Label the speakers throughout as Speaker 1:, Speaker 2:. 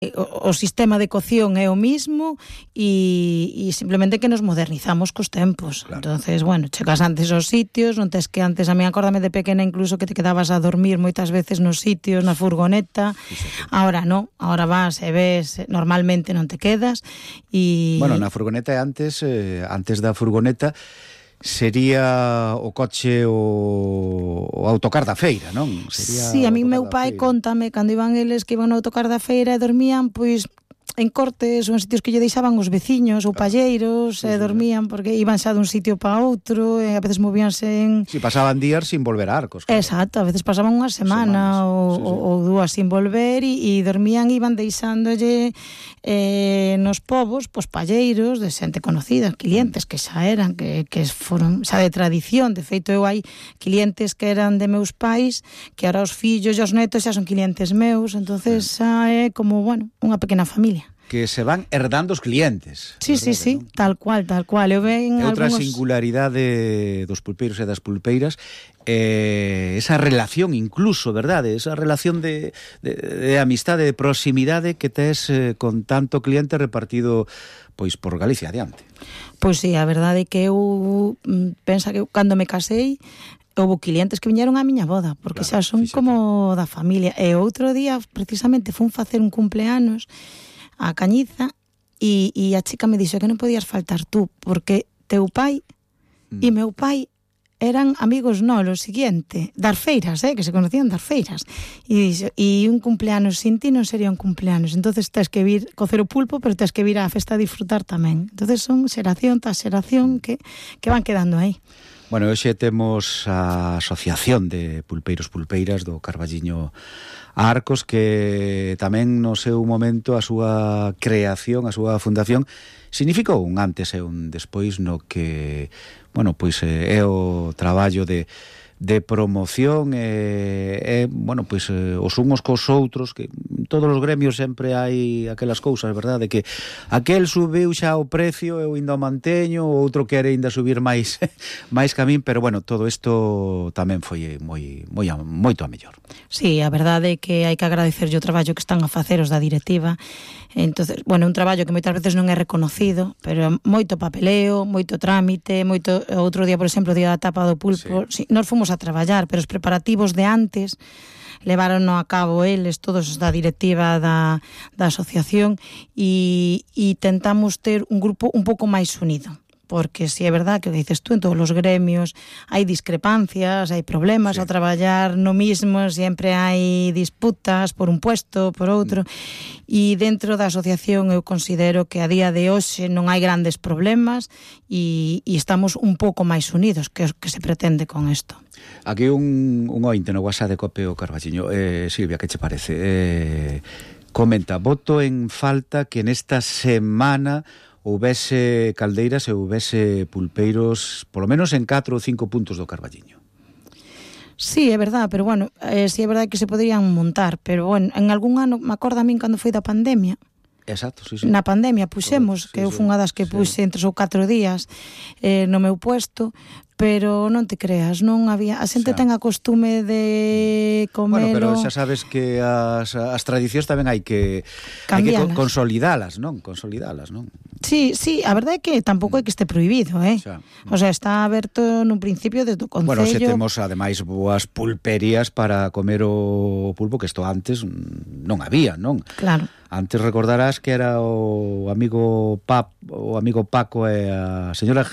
Speaker 1: o sistema de cocción é o mismo e simplemente que nos modernizamos cos tempos. Claro. Entonces, bueno, chegas antes aos sitios, non tes que antes, a mí acórdame de pequena incluso que te quedabas a dormir moitas veces nos sitios, na furgoneta. Ahora non, ahora vas e ves, normalmente non te quedas e...
Speaker 2: Bueno, na furgoneta antes da furgoneta sería o coche o autocar da feira, non? Sería
Speaker 1: sí, a mí meu pai contame cando iban eles que iban no autocar da feira e dormían, pois en cortes ou en sitios que lle deixaban os veciños ou palleiros, e dormían porque iban xa dun sitio para outro e a veces movíanse en...
Speaker 2: Si, pasaban días sin volver a Arcos. Claro.
Speaker 1: Exacto, a veces pasaban unha semana ou dúas sin volver e dormían e iban deixándolle nos povos, pois palleiros de xente conocida, clientes que xa eran, que foron xa de tradición. De feito, eu hai clientes que eran de meus pais, que ahora os fillos e os netos xa son clientes meus, entonces xa é como, bueno, unha pequena familia.
Speaker 2: Que se van herdando os clientes.
Speaker 1: Sí, verdade, sí, ¿no? Tal cual. Eu ven
Speaker 2: outra singularidade dos pulpeiros e das pulpeiras, esa relación incluso, verdade? Esa relación de amistade, de proximidade que tes con tanto cliente repartido pois por Galicia adiante.
Speaker 1: Pois sí, a verdade é que eu pensa que cando me casei houve clientes que viñeron á miña boda, porque claro, xa son como da familia. E outro día, precisamente, fun facer un cumpleanos a Cañiza e a chica me dixo que non podías faltar tú, porque teu pai e meu pai eran amigos lo siguiente, das feiras, que se conocían das feiras. E dixo, e un cumpleanos sin ti non sería un cumpleanos, entonces tens que vir cocer o pulpo, pero tens que vir á festa a disfrutar tamén. Entonces son xeración tras xeración que van quedando aí.
Speaker 2: Bueno, hoxe temos a Asociación de Pulpeiros Pulpeiras do Carballiño Arcos, que tamén no seu momento a súa creación, a súa fundación significou un antes e un despois no que, bueno, pois é o traballo de promoción bueno, pois os unhos cos outros, que en todos os gremios sempre hai aquelas cousas, verdade, que aquel subiu xa o precio, eu ainda o manteño, o outro quere ainda subir máis que a min, pero bueno, todo isto tamén foi moito a mellor.
Speaker 1: Sí, a verdade é que hai que agradecerlle o traballo que están a facer os da directiva. Entonces, bueno, un traballo que moitas veces non é reconocido, pero moito papeleo, moito trámite, moito. Outro día, por exemplo, o día da tapa do pulpo, sí, nós fomos a traballar, pero os preparativos de antes levárono a cabo eles, todos os da directiva da asociación, e tentamos ter un grupo un pouco máis unido. Porque si é verdad que o que dices tú, en todos os gremios hai discrepancias, hai problemas ao traballar no mismo, sempre hai disputas por un puesto, por outro, e dentro da asociación eu considero que a día de hoxe non hai grandes problemas e estamos un pouco máis unidos, que é o que se pretende con isto.
Speaker 2: Aquí un ointe no WhatsApp de Cope o Carballiño. Silvia, que che parece? Comenta, voto en falta que nesta semana houbese caldeiras e houbese pulpeiros polo menos en 4 ou 5 puntos do Carballiño.
Speaker 1: Sí, é verdade, pero bueno, sí é verdade que se poderían montar, pero bueno, en algún ano, me acordo a min cando foi da pandemia.
Speaker 2: Exacto, sí.
Speaker 1: Na pandemia puxemos, que eu fui unha das que puxe en 3 ou 4 días no meu puesto, pero non te creas, non había, a xente ten a costume de comelo.
Speaker 2: Bueno, pero xa sabes que as tradicións tamén hai que consolidalas, non? Sí,
Speaker 1: a verdade é que tampouco é que este prohibido, O sea, está aberto nun principio desde o Concello.
Speaker 2: Bueno, se temos ademais boas pulperías para comer o pulpo, que isto antes non había, non?
Speaker 1: Claro.
Speaker 2: Antes recordarás que era o amigo Paco e a señora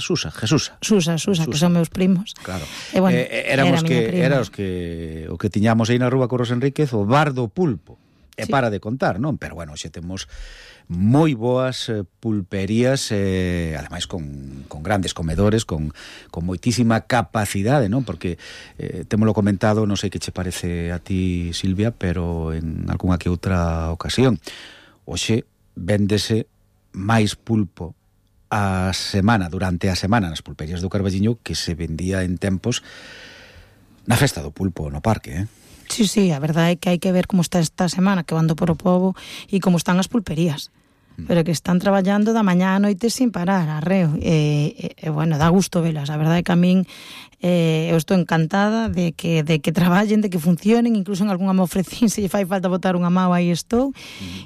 Speaker 2: Susa, que
Speaker 1: son meus primos.
Speaker 2: Claro.
Speaker 1: E bueno,
Speaker 2: era o que tiñamos aí na rúa Corros Enríquez, o bar do pulpo. E para de contar, non? Pero bueno, xe temos moi boas pulperías, ademais con grandes comedores, con moitísima capacidade, non? Porque témolo comentado, non sei que che parece a ti, Silvia, pero en algunha que outra ocasión, hoxe véndese máis pulpo a semana, durante a semana nas pulperías do Carballiño, que se vendía en tempos na festa do pulpo no parque,
Speaker 1: Sí, a verdade é que hai que ver como está esta semana, que vando por o pobo, e como están as pulperías. Pero que están traballando da mañá a noite sin parar, arreo. Bueno, dá gusto velas. A verdade é que a min eu estou encantada de que traballen, de que funcionen, incluso en algunha me ofrecín, se lle fai falta botar unha mao, aí estou.